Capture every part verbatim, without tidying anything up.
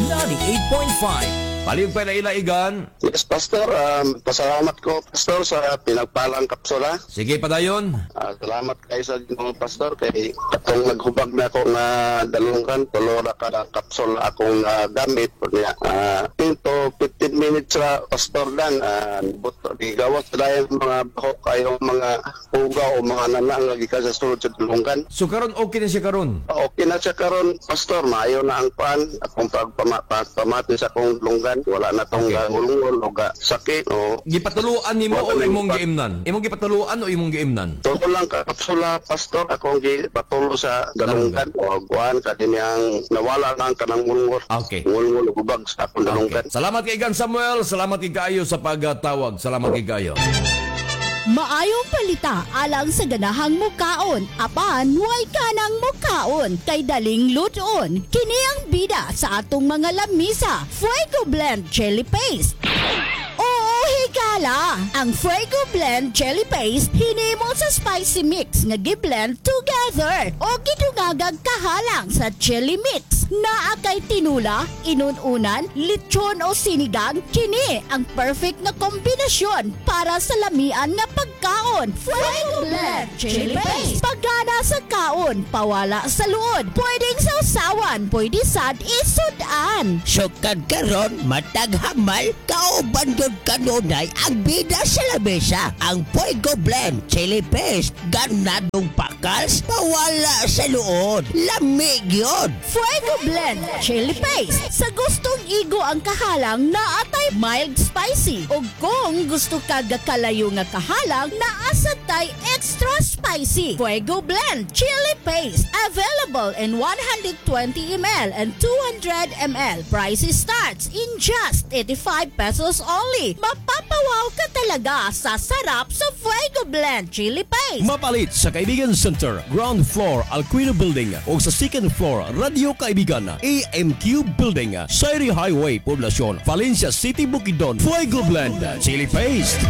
ninety-eight point five. Palihog pa ila, Igan. Yes, Pastor. Um, pasalamat ko, Pastor, sa pinagpalang kapsula. Sige, padayon. Ah, salamat kayo sa Ginoo, Pastor, kay katong naghubag na ako nga dalunggan, tulo ra ka kapsula akong ah, gamit. Niya, uh, ten to fifteen minutes ra, Pastor Dan, uh, buto, gigawas na yung mga bako kayo, mga puga o mga nana nga gikan sa sulod sa dalunggan. So karon okay na siya karon. Okay na siya karon, Pastor. Maayo na ang pan. Akong pagpamati sa akong dalunggan. Wala na tong Okay. okay. Ngulngol o ga sakit. O, Gipatuluan nimo o imong giimnan? Imong gipatuluan o imong giimnan? Tulo lang ka kapsula, Pastor, akong gipatulo sa dalunggan o kuan kadiniyang nawala na ang kanang ngulngol. Okay. Ngulngol ug hubag sa akong dalunggan. Okay. Salamat kay Igan Samuel, salamat kay kaayo sa pagtawag. Salamat kay kaayo. Maayong palita alang sa ganahang mukaon, apan way kanang mukaon kay daling lutoon. Kini ang bida sa atong mga lamisa, Fuego Blend Chili Paste. Oo, higala! Ang Fuego Blend Chili Paste hinimo sa spicy mix nga giblend together o gidungagag kahalang sa chili mix. Naa kay tinula, inununan, lechon o sinigang, kini ang perfect nga kombinasyon para sa lamian nga pagkaon. Fuego Blend Chili Paste. Pagana sa kaon, pawala sa luod. Pwedeng sausawan, pwede sad isudan. Sukad karon matag hamal, kauban gyud kanunay ang bida sa lamesa. Ang Fuego Blend Chili Paste, ganadong pakals, pawala sa luod. Lami gyud. Fuego Blend Chili Paste. Sa gustong igo ang kahalang, naa tay mild spicy. O kung gusto ka gakalayo nga kahalang, naa sad tay extra spicy. Fuego Blend Chili Paste. Available in one hundred twenty milliliters and two hundred milliliters. Price starts in just eighty-five pesos only. Mapapawaw ka talaga sa sarap sa Fuego Blend Chili Paste. Mapalit sa Kaibigan Center, ground floor, Alquino Building o sa second floor, Radio Kaibigan, A M Q Building, Sayri Highway, Poblacion, Valencia City, Bukidnon. Fuego Blend Chili Paste.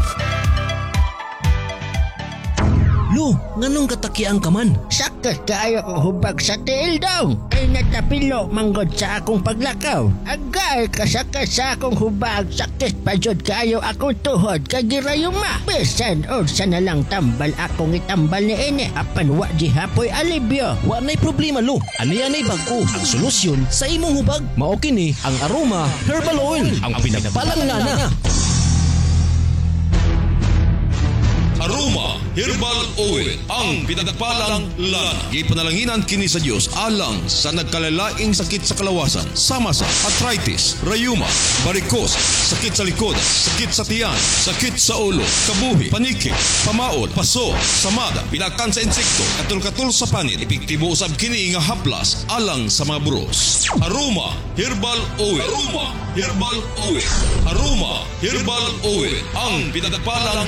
Lo, nganong katakiang ka man? Sakit kaayo akong hubag sa tiil daw. Ay natapilo manggod sa akong paglakaw. Agay kasakit sa akong hubag. Sakit pa jud kaayo akong tuhod kay girayuma. Bisan unsa na lang tambal akong itambal ni ini. Apan wa di hapoy alibyo. Wa na'y problema, lo. Ani-anay bag-o ang solusyon sa imong hubag. Mao kini ang Aroma Herbal Oil, ang pinagpalang lana. Aroma Herbal Oil, ang pinagpalang lana. Gipanalanginan kini sa Dios alang sa nagkalalaing sakit sa kalawasan, sama sa arthritis, rayuma, varicose, sakit sa likod, sakit sa tiyan, sakit sa ulo, kabuhi, paniki, pamaol, paso, samada, pilakan sa insekto, katul-katul sa panit. Epektibo usab kini nga haplas alang sa mga buros. Aroma Herbal Oil. Aroma Herbal Oil. Aroma Herbal Oil, ang pinagpalang